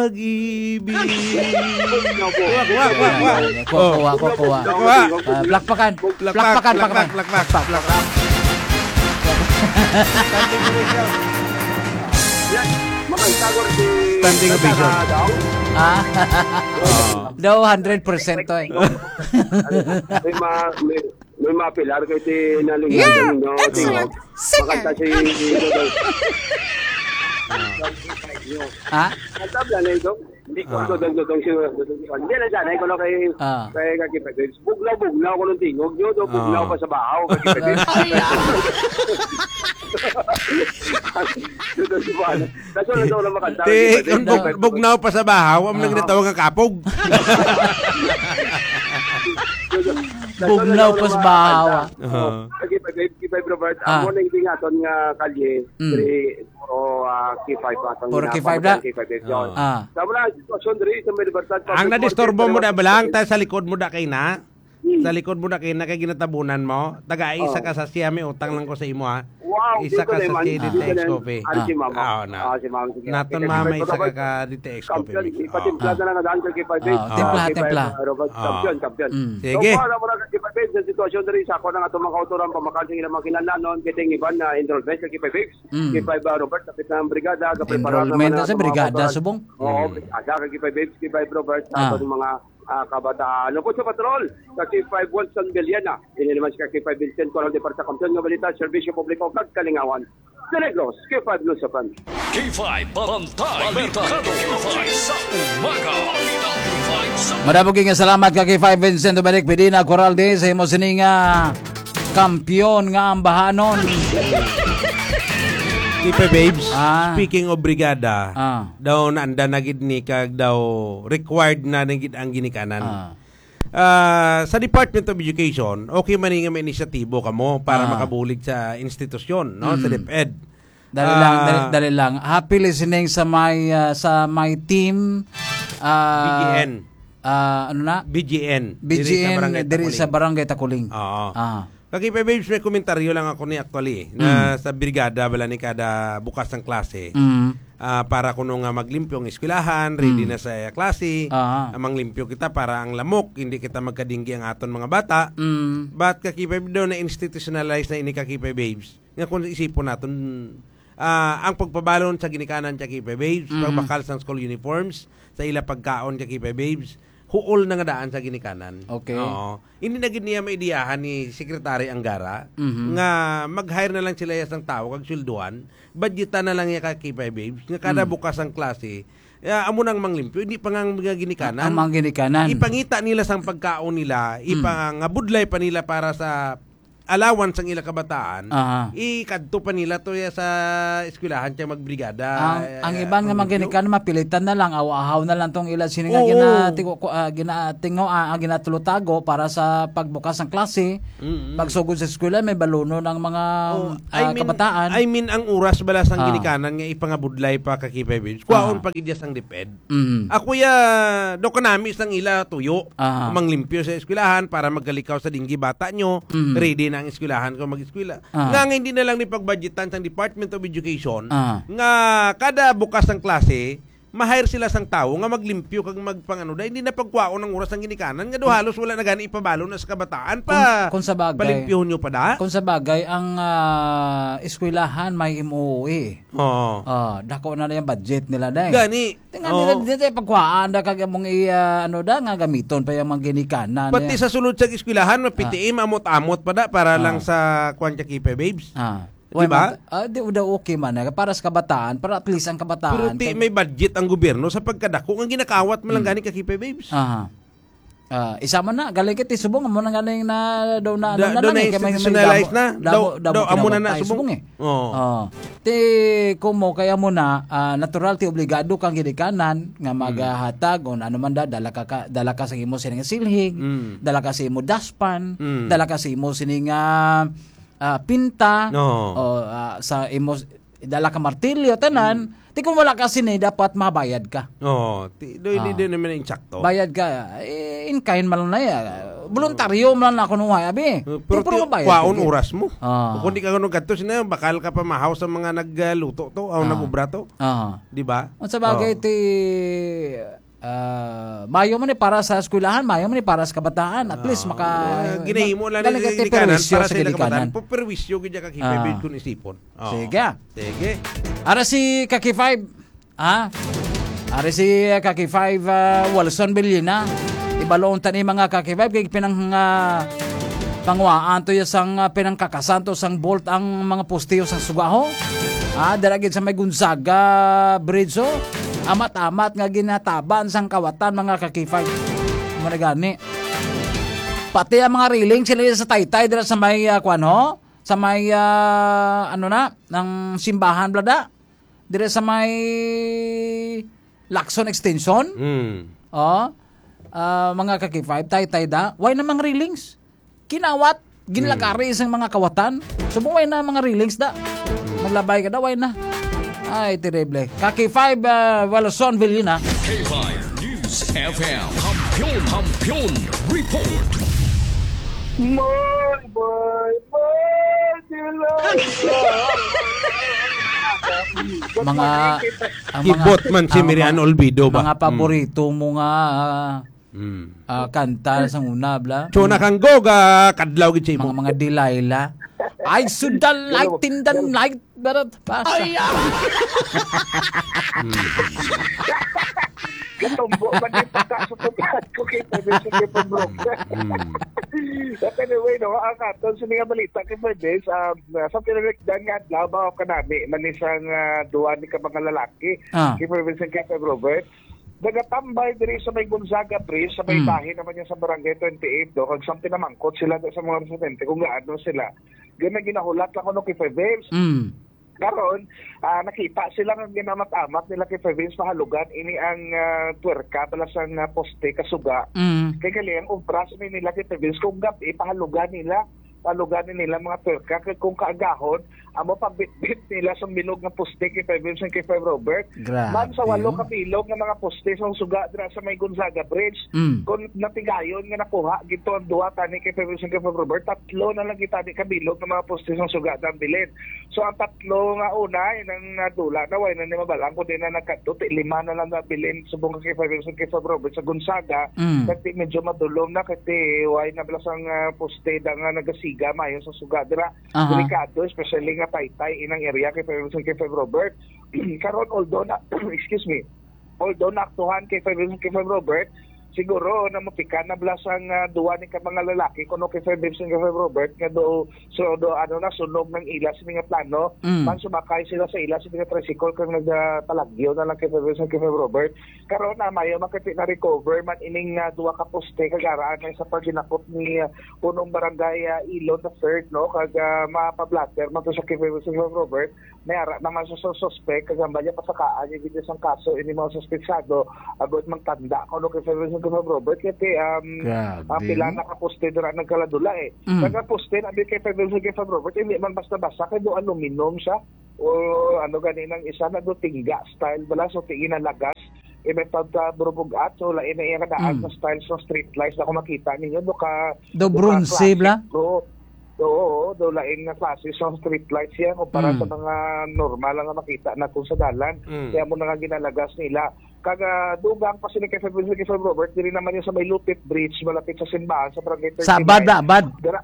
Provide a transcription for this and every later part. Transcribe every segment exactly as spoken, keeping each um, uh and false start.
Pag-ibig. Kuha, kuha, kuha, kuha. Kuha, kuha, kuha, kuha. Kuha. Ah, plakpakan. Plakpak, plakpak, plakpak, plakpak, plakpak. Yan. Makanta ko si Standing ovation. Ah. Oo. Daw hundred percent to eh. May ma-, may, may mapilar kay ti nalingan. Yeah, no, excellent. Tingog. Singer. Makanta si Ha? Kanta bala na ito? Hindi ko Ah. Dodong, Dodong, si Dodong, si Juan. Hindi na dyan, ay, kuno kay, Ah. kay Kaki Pebes. Bugnaw, bugnaw, kuno tingog nyo, do, bugnaw Ah. pa sa bahaw, Kaki Pebes. Ay, ah. Dodong, si Juan. Kaso na daw na makanta, Ti, Kaki Pebes. kung bug-, bugnaw pa sa bahaw, ang Ah. nagdatawa nga kapog. Dodong, Bugnaw kaso na pa daw sa na bahaw, makanta. ah. Oo. Aha. Kaki Pebes, Kaki Pebes, Robert, Ah. amo na yung tingaton nga kalye, Mm. diri, puro, ah, K five, ah, Puro K five na? K five, K five, yun. Ah. Sa mga sitwasyon diri sa may Libertad Ang Public nadisturbo Market, mo na Libertad balang, Public ta sa likod mo da kay na? Hmm. Sa likod mo da kay na kay ginatabunan mo? Taga isa Oh. ka sa siya, may utang lang ko sa imo, ha? Wow, Isa di ko ka na sa man, si di ko D T X na Coffee. Ano si Ah. Mama? Ah, oo na. Ah, si Mama, sige. Naton Kay mama, Kay isa ka Robert, ka D T X Coffee, champion, amigo. Ipatimplad Ah. na lang ang daan kay Kay Five Ah, Eight. timpla, Ah, Kay Five, timpla. ah, Robert, Ah. champion, champion. Mm. So, Sige. Kuha na mo na kay Kay Five Eight sa sitwasyon diri sa ako ng atong mga kautoran, pamakal sa ilang mga kinahanglanon, kay ting iban na enrollment kay Kay Five Eight. Mm. Kay Five, ah, Robert, kapit na ang brigada, kaprepara Enrollment naman na ang sa atong mga brigada, kautoran. Subong. Oo, Mm. ada kay Kay Five Eight, Kay Five Robert, sa Ah. atong mga, ah, kabataan. Lungkot sa patrol, sa Kay Five One San Beliana. Ini naman si Kay Five Vincent, Coral de Parsa Kampiyon nga balita, serbisyo publiko, kag kalingawan. Sa Negros, Kay Five News F M. Kay Five Bantay Merkado, Kay Five sa umaga. Madamo nga salamat ka kay Five Vincent Dominic Pedina Coralde sa imo sining, ah, kampiyon nga ambahanon. Kay Five Babes, Ah. speaking of brigada, Ah. daw naanda na gid ni kag daw required na, na gid ang ginikanan. Ah. Ah, sa Department of Education, okay man nga may inisyatibo kamo para Ah. makabulig sa institusyon, no, sa Mm. DepEd. Dali lang, Ah. dali, dali lang. Happy listening sa my, ah, sa my team, ah, B G N. ah, ano na? B G N, diri sa B G N, Barangay diri sa Taculing. Barangay Taculing. Oo. Ah. Kay Five Babes, may komentaryo lang ako ni actually, na Mm. sa brigada bala ni kada bukas ng klase. Mm. Ah, para kuno nga maglimpyo ang eskwelahan, ready Mm. na sa klase, Ah. ah, manglimpyo kita para ang lamok, hindi kita magkadinggi ang aton mga bata. Mm. But Kaki Five daw na institutionalize na ini, Kaki Five Babes. Nga kung isipon naton, ah, ang pagpabalon sa ginikanan, Kaki Five Babes, Mm. pagbakal sang school uniforms, sa ila pagkaon, Kaki Five Babes, huol na nga daan sa ginikanan. Okay. Oo. Hindi na gid niya maidiyahan ni Secretary Angara Mhm. nga mag-hire na lang sila ya sang tawo kag sweldohan, budgetan na lang ya, Kaki Five Babes, nga kada Mm. bukas ang klase, ya, amo nang manglimpyo, hindi pa nga ang mga ginikanan. Ang mga ginikanan. Ipangita nila sang pagkaon nila, Mm. ipangabudlay pa nila para sa allowance ang ila kabataan, Aha. ikadto pa nila to ya sa eskwelahan kay magbrigada, Ang, eh, ang iban nga mga manglimpyo. Ginikanan, mapilitan na lang, aw-ahaw na lang tong ila sini nga Oo. ginatigo-, ku-, ah, ginatingo-, ah, ah, ginatulutago para sa pagbukas ng klase, Mm-mm. pagsugod sa eskwela, may balunon ang mga, Oh, I ah, mean, kabataan. I mean, ang oras bala sang Ah. ginikanan nga ipangabudlay pa, Kaki Five Babes, kwaon Ah. pa gid ya sang DepEd. Mm. Ako ya, do kanami sang ila tuyo. Aha. Manglimpyo sa eskwelahan para magkalikaw sa dinggi bata nyo. Mm. Ready na ang eskwelahan kung mag-eskwela. Aha. Nga, nga hindi na lang ni pagbudgetan sang Department of Education Aha. nga kada bukas ang klase, ma-hire sila sang tawo nga maglimpyo kag magpangano. Dahil hindi na pagkwaon ang oras ang ginikanan. Nga do halos wala na gani ipabalo na sa kabataan. Pa, Kung, kung sa bagay, palimpyuhon nyo pa da? Kung sa bagay, ang, ah, eskwelahan may M O E. Oo. Ah, dako na na yung budget nila, day. Gani. Tingnan nila, Oo. di tayo pagkuhaan na kag among i-, ah, ano da, nga gamiton pa yung mga ginikanan, Pati eh. Sa sulod sa eskwelahan, may Ah. P T A, maamot-amot pa da para Ah. lang sa kwan ka kipe, babes. Ah. Di Why ba? Not? Ah, di, daw okay man, eh. Para sa kabataan, para at least ang kabataan, Pero ti, kag may budget ang gobyerno sa pagkadako nga ginakawat man lang Hmm. gani ka kipe, babes. Aha. Ah, isa man na, galing kay Tisubong, amo na galing na, daw na, Da-, ano na daw lang, eh, kay may, may na-institutionalize damo, na. Daw, damo, damo daw, amo na na, kinabantay. Subong. Subong, eh. Oo. Oh. Ti, kumo, kay amo na, ah, natural, ti obligado kang ginikanan nga Mm. maghatag, o ano man da, dala ka, ka, dala ka sa imo sining silhig, Mm. dala ka sa imo daspan, Mm. dala ka sa imo sining, ah, ah, pinta, No. o, ah, sa imo, dala ka martilyo, tanan, Mm. Ti kung wala ka sini, dapat mabayad ka. Oo, ti, do, hindi Ah. din naman yung sakto. Bayad ka, eh, in kind man lang na, eh. Voluntaryo man lang ako nung abi. Eh, pero Pero ti, mabayad ka, kwaon eh. oras mo. Ah. Kung di ka ganun gadto, sino, bakal ka pa mahaw sa mga nagluto to, o Ah. nag-ubra to. Ah. Di ba? Ang sa bagay, Oo. ti, ah, mayo man eh para sa eskwelahan, mayo man eh para sa kabataan. At least, Ah. maka-, Ah, ginahimo lang galing ni kay ti ginikanan perwisyo para sa sa ilang kabataan. ginikanan. Pu-, perwisyo gid ka kay Ah. Bed kung isipon. Oo. Sige. Sige. Ara si Kaki Five. Ah? Ari si, ah, Kaki Five, ah, Walson Villena. Ibaloon ta ni mga Kaki Five, kay pinang, ah, panguhaan to ya sang, ah, pinangkakasan to sang bolt ang mga poste sang suga, ho. Ah, dira gid sa may Gonzaga Bridge, ho. Amat-amat nga ginataban sang kawatan, mga Kaki Five. Mo na gani. Pati ang mga railing sila sa Taytay dira sa may, ah, kwan, ho? Sa may, ah, ano na, ng simbahan, blada? Dire sa may Lacson Extension. Mm. Oh. Ah, mga Kaki Five, Taytay da. Why na mga railings? Kinawat, ginlagari Mm. sang mga kawatan. So, why na mga railings da? Maglabay ka da, why na? Ay, terrible. Kaki Five, ah, Walson Villena. K five News F M. Kampiyon, Kampiyon Report. More, more, more, Delilah. Mga, ang mga, Kibot man si ang Miriam mga, Olvido ba? mga Mm. paborito mo nga, Mm. ah, kanta sa una, bla? Chona kang goga, kadlaw gid sa imo. Mga, mga Delilah. I should the light in the night. Pero, basta. Ay, ah! Katumbo man yung pagkasutupan ko kay Pwede sa Kipag Broker. Mm. But anyway, no, ang aton sa mga balita kay Pwede, um, sa pinanagdan nga adlaw, ba, o kanami, man isang, ah, duwa ni ka mga lalaki, Ah. kay Pwede sa Kipag Broker. Nagatambay diri sa may Gonzaga Bridge, sa may Mm. bahin naman niya sa Barangay twenty-eight, no? Kag sa pinamangkot sila sa mga residente kung gaano sila. Gana ginahulat lang kuno kay Five Waves. Mm. Karon, ah, nakita sila nga ginamat-amat nila kay Five Waves pahalugan ini ang, ah, twerka bala sang, ah, poste kasuga. Mm. Kay gali ang obra sa nila kay Five Waves kung gab-i pahalugan nila, pahalugan ni nila mga twerka kay kung kaagahon amo pabitbit nila sa bilog nga poste kay Five Waves and kay Five Robert. Grabe, Man sa walo oh. ka bilog nga mga poste sa suga dira sa may Gonzaga Bridge, Mm. kung natigayon nga nakuha gito ang duwa tani kay Five Waves and kay Five Robert, tatlo na lang gitani ka bilog nga mga poste sa suga ang bilin. So, ang tatlo nga una, inang nadula na, way na ni mabalang, kundi na nagkadto, ti lima na lang nabilin subong kay Five Waves and kay Five Robert sa Gonzaga, Mm. kay ti medyo madulom na, kay ti way na bala sang, ah, poste da nga nagasiga, mayo sa suga dira. Aha. Delikado, especially nga Taytay, inang area kay Five Waves and kay Five Robert. Karon, although na, excuse me, although naaktuhan kay Five Waves and kay Five Robert, siguro na mapikan na bala sang, ah, duwa ni ka mga lalaki, kuno kay Five Waves and kay Five Robert, nga do, so, do, ano na, sunog ng ila sa mga plano, Mm. man sumakay sila sa ila sa mga tricycle, kag nagpalagyo na lang kay Five Waves and kay Five Robert. Karon na, mayo makati na recover man ining, ah, duwa ka poste, kag araan na sa paghinakot ni, ah, punong barangay, ah, Ilon the third, no, kag, ah, mapablatter man to sa kay Five Waves and kay Five Robert, may ara naman sa, sa suspect, kag hambal niya pasakaan niya gid sang kaso ini mga suspetsado, agod magtanda kuno kay Federal Reserve Robert, kay, um, Grabe, ang pila no? na ka poste dira nagkaladula, eh. Mm. Nagkaposte na bi kay Federal Reserve Robert, hindi man basta-basta, kay do aluminum siya, o ano gani nang isa na do tingga style bala, so tingin na lagas, eh, may pagkaburubugat, so lain na iya kadaan Mm. sa style sa street lights na kung makita ninyo, do ka, Do do ka bronze, classic, bla? do, Oo, do lain nga klase sa street lights yan kumpara Mm. sa mga normal nga makita naton sa dalan. Mm. Kaya mo na nga ginalagas nila. Kag, ah, dugang pa sila kay February, kay February Robert, diri naman yung sa may Lupit Bridge, malapit sa simbahan, sa Barangay Sa Abad thirty-nine. na, Abad. Dira,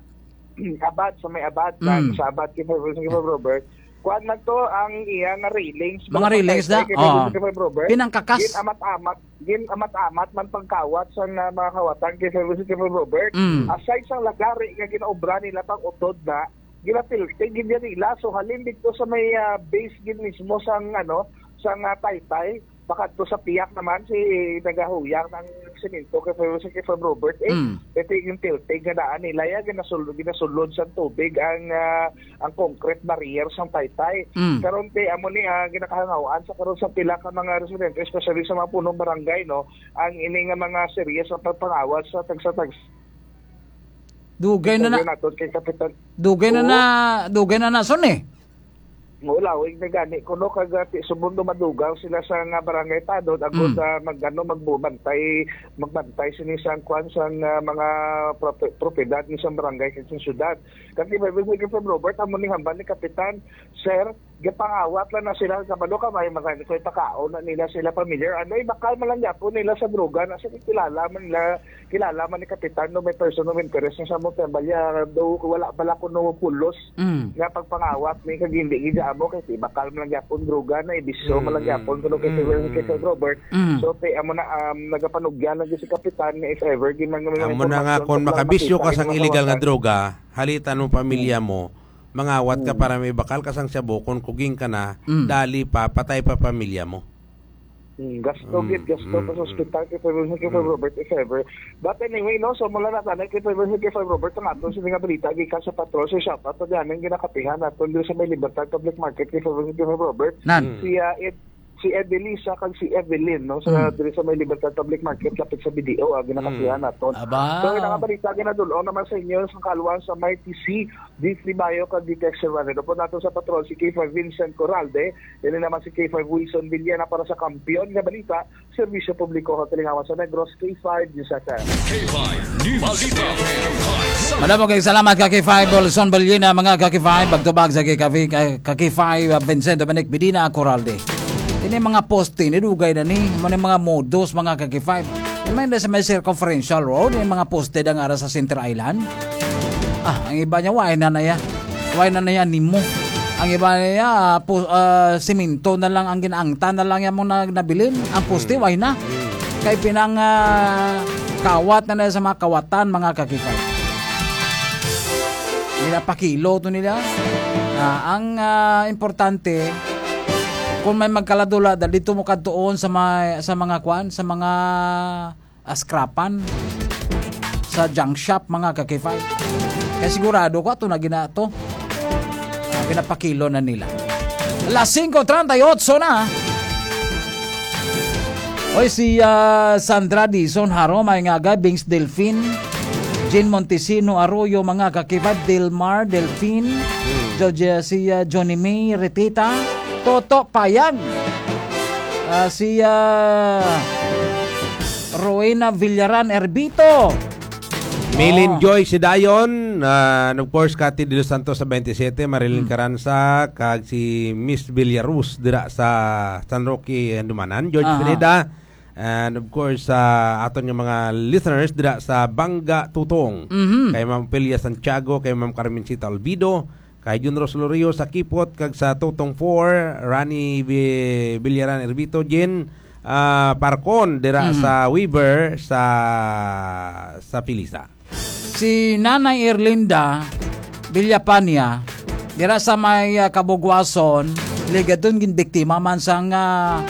Abad, sa may Abad, Mm. sa Abad kay February, kay February Robert. Kuan man to ang iya nga railings. Mga Mga railings na? pantay kay February, Oo. kay February Robert. Pinangkakas. Gin amat-amat, gin amat-amat man pagkawat sa nga mga kawatan kay February, kay February Robert. Mm. Aside sa lagari nga ginaobra nila pang utod na, ginatiltig gid yan nila. So, halin dito sa may, ah, base gid mismo sang, ano, sang, ah, Taytay, pakadto sa piyak naman si nagahuyang ng semento kay February, kay February Robert. Eh, Mm. ito yung tiltig nga daan nila yan, ginasul-, ginasulod sa tubig ang, ah, ang concrete barrier sa Taytay. Mm. Karon kay amo ni, ah, ginakahangawaan sa karon sa pila ka mga residente, especially sa mga punong barangay, no, ang ini nga mga seryes sa pagpangawat sa tagsa-tagsa. Dugay na na. Interview naton kay Kapitan. Dugay na Oo. na, dugay na na, son, eh. Maulawig na gani kuno kag, ah, ti-, subong dumadugang sila sa nga barangay tanod, agod, Mm. ah, mag-, ano, magbantay, magbantay sini sang kwan, sang, ah, mga prope-, propiedad ni sang barangay kag sa syudad. Kag iba, iba, iba, Robert, amo ning hambal ni Kapitan, Sir, gipangawat lang na sila, kabalo ka, may mga ko'y pakaon na nila sila familiar. Ano, ibakal man lang gyapon nila sa droga, na sa kilala man nila, kilala man ni Kapitan, no, may person of interest na sa mo, kaya balya, daw, wala pala kuno pulos Mm. nga pagpangawat ni kag hindi gid amo kay si bakal man lang gyapon droga na ibisyo man lang Mm. gyapon kuno kay Mm. Sir, kay Sir Robert. Mm. So, te, amo na, um, nagapanugyan lang gyud si Kapitan nga if ever gid man may Amo na nga, impormasyon kung sa plan makita ka sang mga illegal nga kawatan. Droga, halitan mo pamilya Mm. mo, mangawat ka Mm. para may bakal ka sang shabu, kung kuging ka na, Mm. dali pa, patay pa pamilya mo. Hmm, gasto Mm, gid, gasto pa sa mm, ospital kay Five Robert, kay Five mm. Robert, if ever. But anyway, no, so mula na tanan kay Five Robert, kay Five Robert, ang aton sini nga balita gikan sa patrol, so shout out to diyan ang ginakapihan naton diri sa may Libertad Public Market kay Five Robert, kay Five Robert. Nan. Mm. Si, ah, Ed-, si Evelisa kag si Evelyn, no, sa, Mm. diri sa may Libertad Public Market, lapit sa B D O, ang ginakapihan Mm. naton. Aba. So, ang mga balita, ginadul-ong naman sa inyo sa kalwan sa may T C, D three Bayo kag D T X Serrano. Upod nato sa patrol si K five Vincent Coralde, Dili naman si K five Wilson Villena para sa Kampiyon nga Balita, Serbisyo Publiko, Katalingawan sa Negros, K five News F M. K five News Balita. Madamo kay salamat ka K five Wilson Villena, mga ka K five, pagtubag sa K five, ka, ka K five, uh, Vincent Dominic Bedina Coralde. Ini mga poste, ni dugay na ni, mo ni mga modus, mga ka K five. May na sa may circumferential road, yung mga poste ang ara sa Center Island. Ah, ang iba niya, why na na ya? Why na na ya nimo? Ang iba niya, ah, pu-, ah, simento na lang ang ginaangtan na lang yan mo na nabilin. Ang poste, Mm. why na? Mm. Kay pinang, ah, kawat na na sa mga kawatan, mga kakikay. Nila pakilo to nila. Ah, ang, ah, importante, kung may magkaladula, dal-, dito mo kadtuon sa mga, sa mga kwan, sa mga ah, scrapan sa junk shop, mga ka-K five. Kaya sigurado ko, ato na gina-, to. Ah, pinapakilo na nila. Las singko treinta y ocho na. Oy, si, ah, Sandra Dizon Haro, may nga aga, Bings Delfin, Jean Montesino Arroyo, mga ka-K five, Delmar Delfin, Hmm. Georgia, si, ah, Johnny May Retita, Toto Payag, ah, si, ah, Rowena Villaran Erbito. Milin Oh. Joy Sidayon, ah, and of course, Cathy De Los Santos sa twenty-seven, Marilyn Hmm. Caranza, kag si Miss Villaruz dira sa San Roque, Handumanan. George Aha. Pineda, and of course, sa aton nga mga listeners dira sa Banga Tutong. Mhm. Kay Ma'am Pelia Santiago, kay Ma'am Carmencita Olvido, kay Jun Roslorio sa Kipot, kag sa Tutong four, Rani Vi-, Villaran Erbito, Jean, ah, Parcon, dira Mhm. sa Weaver, sa, sa Pilisa. Si Nanay Erlinda Villapania, dira sa may, ah, Kabugwason, ligadon gin biktima man sang, ah,